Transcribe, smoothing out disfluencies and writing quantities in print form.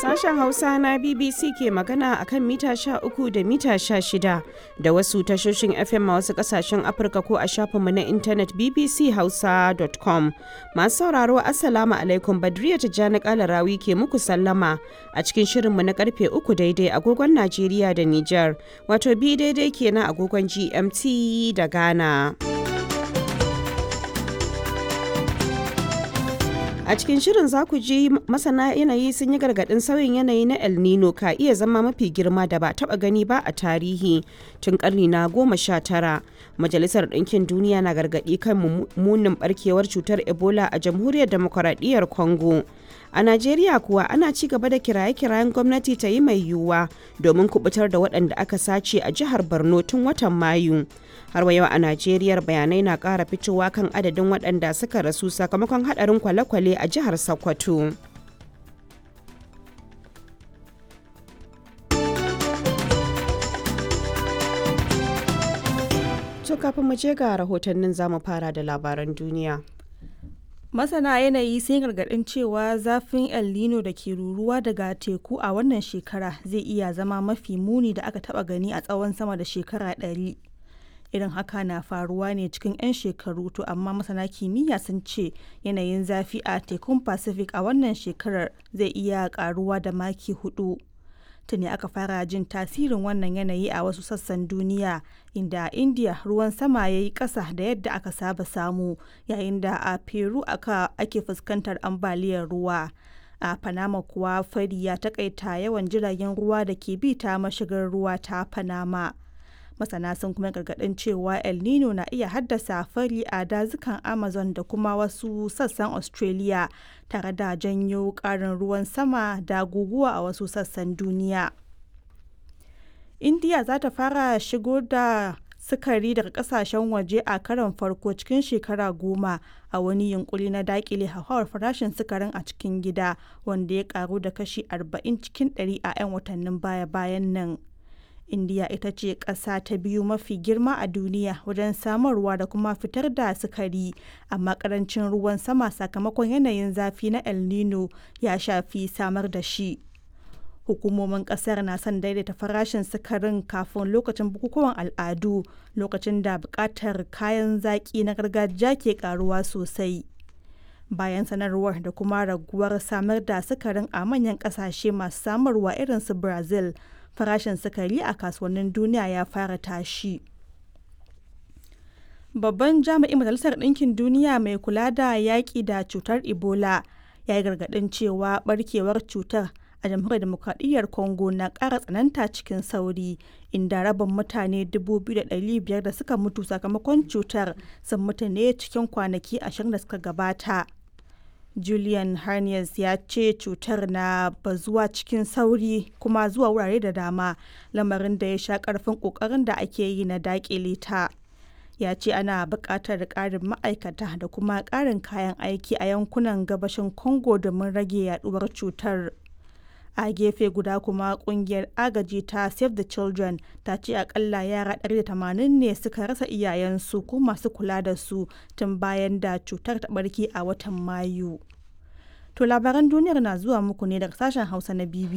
Sashen Hausa na BBC ke magana a kan mita 13 da mita 16 da wasu tashoshin FM a wasu kasashen Afirka ko a shafinmu na intanet bbchausa.com. Masu sauraro, Assalamu alaikum, Badriya Tijjani Kalarawi ke muku sallama a cikin shirinmu na karfe 3 daidai agogon Najeriya da Nijar, wato bi daidai kenan agogon GMT da Ghana. A cikin shirin za ku ji masana yanayi sun yi gargaɗin sauyin yanayi na El Nino ka iya zama mafi girma da ba taɓa gani ba a tarihi tun ƙarni na 19. Majalisar Ɗinkin Duniya na gargaɗi kan munin barkewar cutar Ebola a Jamhuriyar Demokuraɗiyyar Congo. A Najeriya kuwa, ana ci gaba da kiraye-kirayen gwamnati ta yi mai yiwuwa domin kubutar da waɗanda aka sace a jihar Borno tun watan Mayu. Har wa yau a Najeriya, bayanai na ƙara fitowa kan adadin waɗanda suka rasu sakamakon haɗarin kwale-kwale a jihar Sokoto. To, kafin mu je ga rahotannin, zamu fara da labaran duniya. Masana yanayi sun gargaɗin cewa zafin El Nino da ke ruruwa daga teku a wannan shekara zai iya zama mafi muni da aka taɓa gani a tsawon sama da shekara 100. Irin haka na faruwa ne cikin 'yan shekaru, to amma masana kimiyya sun ce yanayin zafi a tekun Pacific a wannan shekarar zai iya karuwa da maki 4. Tuni aka fara jin tasirin wannan yanayi a wasu sassan duniya, inda a India ruwan sama ya yi ƙasa da yadda aka saba samu, yayin da a Peru ake fuskantar ambaliyar ruwa. A Panama kuwa, fari ya takaita yawan jiragen ruwa da ke bi ta mashigar ruwa ta Panama. Masana sun kuma gargaɗin cewa El Nino na iya haddasa fari a dazukan Amazon da kuma wasu sassan Australia, tare da janyo ƙarin ruwan sama da guguwa a wasu sassan duniya. India za ta fara shigo da sukari daga kasashen waje a karon farko cikin shekara 10 a wani yunkuri na dakile hauhawar farashin sukarin a cikin gida, wanda ya karu da kashi 40 cikin 100 a 'yan watannin baya-bayan nan. Indiya ita ce ƙasa ta biyu mafi girma a duniya wajen samarwa da kuma fitar da sukari, amma ƙarancin ruwan sama sakamakon yanayin zafi na El Nino ya shafi samar da shi. Hukumomin ƙasar na son daidaita farashin sukarin kafin lokacin bukukuwan al'adu, lokacin da buƙatar kayan zaƙi na gargajiya ke ƙaruwa sosai. Bayan sanarwar da kuma raguwar samar da sukarin a manyan ƙasashe masu samarwa irin su Brazil, farashin sukari a kasuwannin duniya ya fara tashi. Babban jami'in Majalisar Ɗinkin Duniya mai kula da yaƙi da cutar Ebola ya yi gargaɗin cewa barkewar cutar a Jamhuriyar Demokradiyyar Congo na ƙara tsananta cikin sauri, inda rabin mutane 2,500 da suka mutu sakamakon cutar sun mutu ne cikin kwanaki 20 da suka gabata. Julian Harness ya ce cutar na bazuwa cikin sauri kuma zuwa wurare da dama, lamarin da ya sha karfin kokarin da ake yi na dakile ta. Ya ce ana buƙatar ƙarin ma'aikata da kuma ƙarin kayan aiki a yankunan gabashin Congo domin rage yaduwar cutar. A gefe guda kuma, kungiyar agaji ta Save the Children ta ce akalla yara 180 ne suka rasa iyayensu ko masu kula da su tun bayan da cutar ta barke a watan Mayu. To, labaran duniyar na zuwa muku ne daga sashen Hausa na BBC.